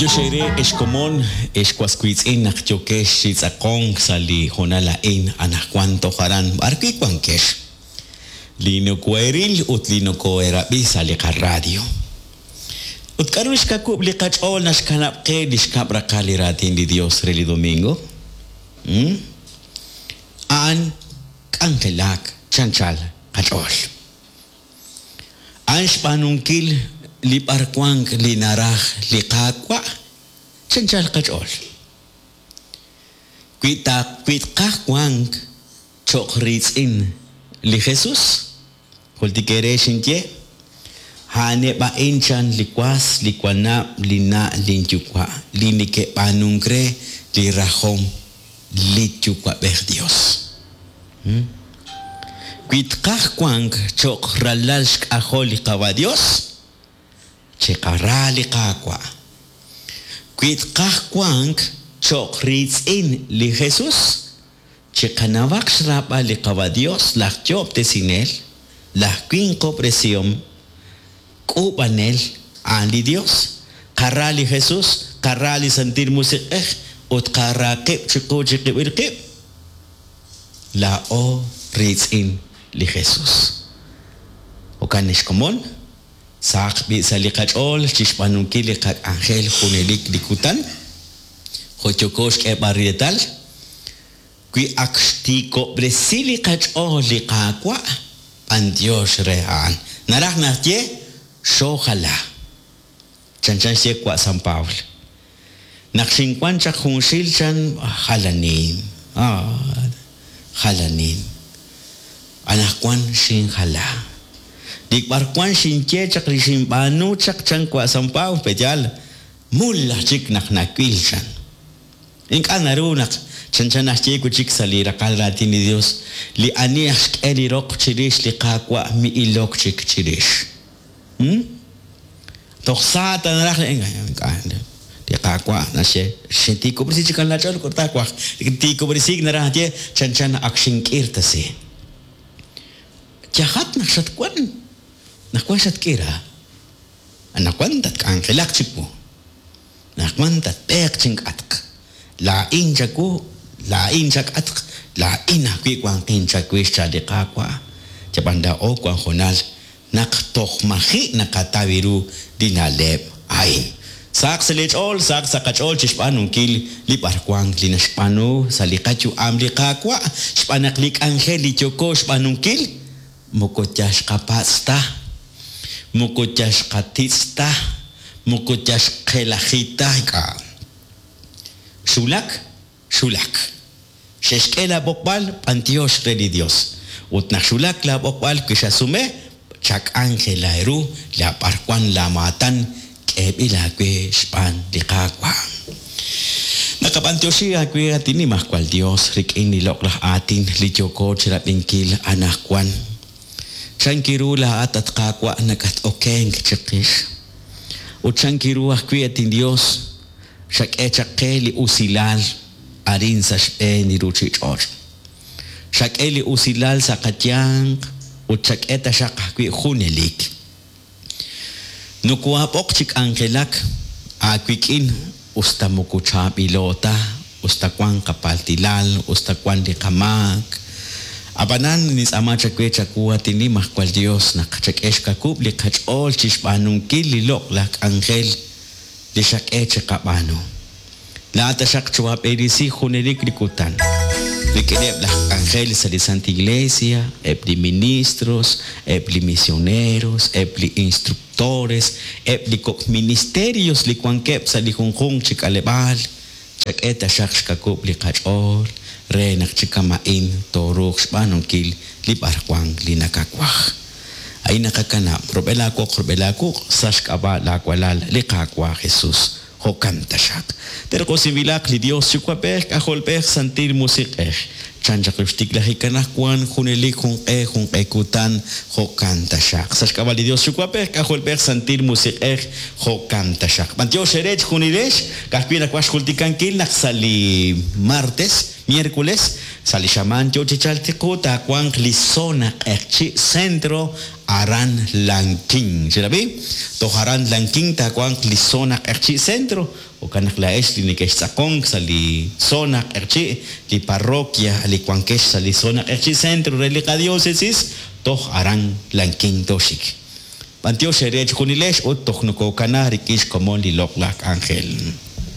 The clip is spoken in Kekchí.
B'antiox eere ex komon, ex was wiitz'in naq yookex chi tz'aqonk sa' li hoonal a'in anaqwan toj aran b'arwi' wankex, li nokoheeril ut li nokoheerab'i sa' li qaradio. Ut k'aru li xkawub' li qach'ool naxkanab' qe li xkab' raqal li raatin li Dios re li domingo? Hmm? A'an k'anjelak chanchal qach'ool. A'an xb'aanunkil li b'arwank li naraj li Qaawa' chanchal qach'ool. Wi ta wi tqaj wank cho'q riitz'in li Jesus, jultik eere xinye, A'aneb' a'in chan li was, li wanab', linna', linyuwa', li neke'b'aanunk re li rajom li Yuwa'b'ej Dios. Wi tqaj wank cho'q ralal xk'ajol li Qawa' Dios, chiqara li Qaawa'. Wi tqaj wank cho'q riitz'in li Jesus, chiqanawaq xraab'al li Qawa' Dios laj Yo'ob'tesinel, laj Winqob'resihom, K'uub'anel, a'an li Dios. Qara li Jesus, qara li Santil Musiq'ej, ut qara qib' chiqu chiqib'il qib'. Laa'o riitz'in li Jesus. Jo'kan ex komon, sahaq b'i' sa' li qach'ool chixb'aanunkil li qak'anjel junelik li kutan, jo' yooko xk'eeb'al reetal, wi ak xtiikob'resi li qach'ool li Qaawa', b'antiox re a'an. Naraj naxye, xoojala. Chanchan xye wa' San Pabl. Naq xinwan chaq junxil chan jalanin, ah, jalanin. Anaqwan xinjala. Li b'arwan xinye chaq li xinb'aanu chaq chan wa' San Pabl, pe'yaal, mul aj chik naq nawil chan. Ink'a' naru naq chanchan naxye wi' chik sa' li raqal raatin li Dios, li ani aj xk'e li roq chirix li Qaawa' mi'ilok chik chirix. Hmm? Toj sa ta naraj li ink'a' li Qaawa' naxye, xintiikob'resi chik laach'ool ut taawaj. Tiikob'resiik naraj naxye chanchan ak xink'irtasi. Yajat naq xatwan, naq wan xatk'ira. Anaqwan tatk'anjelaq chiwu. Anaqwan tatb'eeq chink'atq. Laa'in chawu, laa'in chak'atq, laa'in ajwi' wanqin chawix, chan li Qaawa'. Yab'an laa'o wan hoonal naq toj maji' naqataw ru li na'leb' a'in. Sahaq sa' leech'ool, sahaq sa' qach'ool chi xb'aanunkil li b'arwank li naxb'aanu sa' li qayu'am li Qaawa', xb'aan naq li k'anjel li yooko xb'aanunkil moko yal xqapatz' ta, moko yal xqatitz' ta, moko yal xqelaji ta, ink'a'. Xwulak, xwulak. Xe'xk'e laab'oqb'al, b'antiox re li Dios. Ut naq xwulak laab'oqb'al wi xasume, chak'anjela ru la b'arwan laamaatan k'eeb'il aawe xb'aan li Qaawa'. Naqab'antioxi aawe, at Nimajwal Dios, rik'in li loq'laj aatin li yooko chirab'inkil anaqwan. Chank ru laa'at, at Qaawa', nakat'okenk chiqix? Ut chank ru ajwi', at inYos, xak'e chaq qe li usilal arin sa' xb'een li ruuchich'och'? Xak'e li usilal sa' qayanq ut xak'e taxaq ajwi' junelik. Nokohaab'oq chi k'anjelak aawik'in us ta moko chaab'ilo ta, us ta wank qapaltilal, us ta wank li qamaak. Ab'anan nintz'aama chawe chawu, at Inimajwal Yos, naq chak'e xkawub' li qach'ool chi xb'aanunkil li loq'laj k'anjel li xak'e chiqab'aanu. Laa'at taxaq choohaab'eresi junelik li kutan, rik'ineb' laj k'anjel sa' li Santa Iglesia, eb' li ministros, eb' li misioneros, eb' li instructores, eb' li kok' ministerios li wankeb' sa' li junjunq chi k'aleb'aal, chak'e taxaq xkawub' li qach'ool re naq chi kama'in tooruuq xb'aanunkil li b'arwan li nakawaj. A'in naqakanab' rub'el aawoq rub'el aawuq' sa' xk'ab'a' laawalal li Qaawa' Jesus. Jo'kan taxaq. Terq'usinb'ilaq li Dios Yuwa'b'ej, K'ajolb'ej, Santil Musiq'ej. Chan chaq li xtiklajik anaqwan, junelik junq'e junq'e kutan, jo'kan taxaq. Sa' xk'ab'a' li Dios Yuwa'b'ej, K'ajolb'ej, Santil Musiq'ej, jo'kan taxaq. B'antiox eere chejunilex, ka'ajwi' nawaj xjultikankil naq sa' li martes, miércoles, Sa' li xamaan yo chi chalk chiqu taawanq li zona Q'eqchi' Centro aran Lanquín. Xerab'i? Toj aran Lanquín taawanq li zona Q'eqchi' Centro. Jo'kan naq laa'ex li nekextz'aqonk sa' li zona Q'eqchi', li parroquia li wankex sa' li zona Q'eqchi' Centro re li qadiócesis, toj aran Lanquín tooxik. B'antiox eere chejunilex ut toj nokokana rik'in xkomon li loq'laj k'anjel.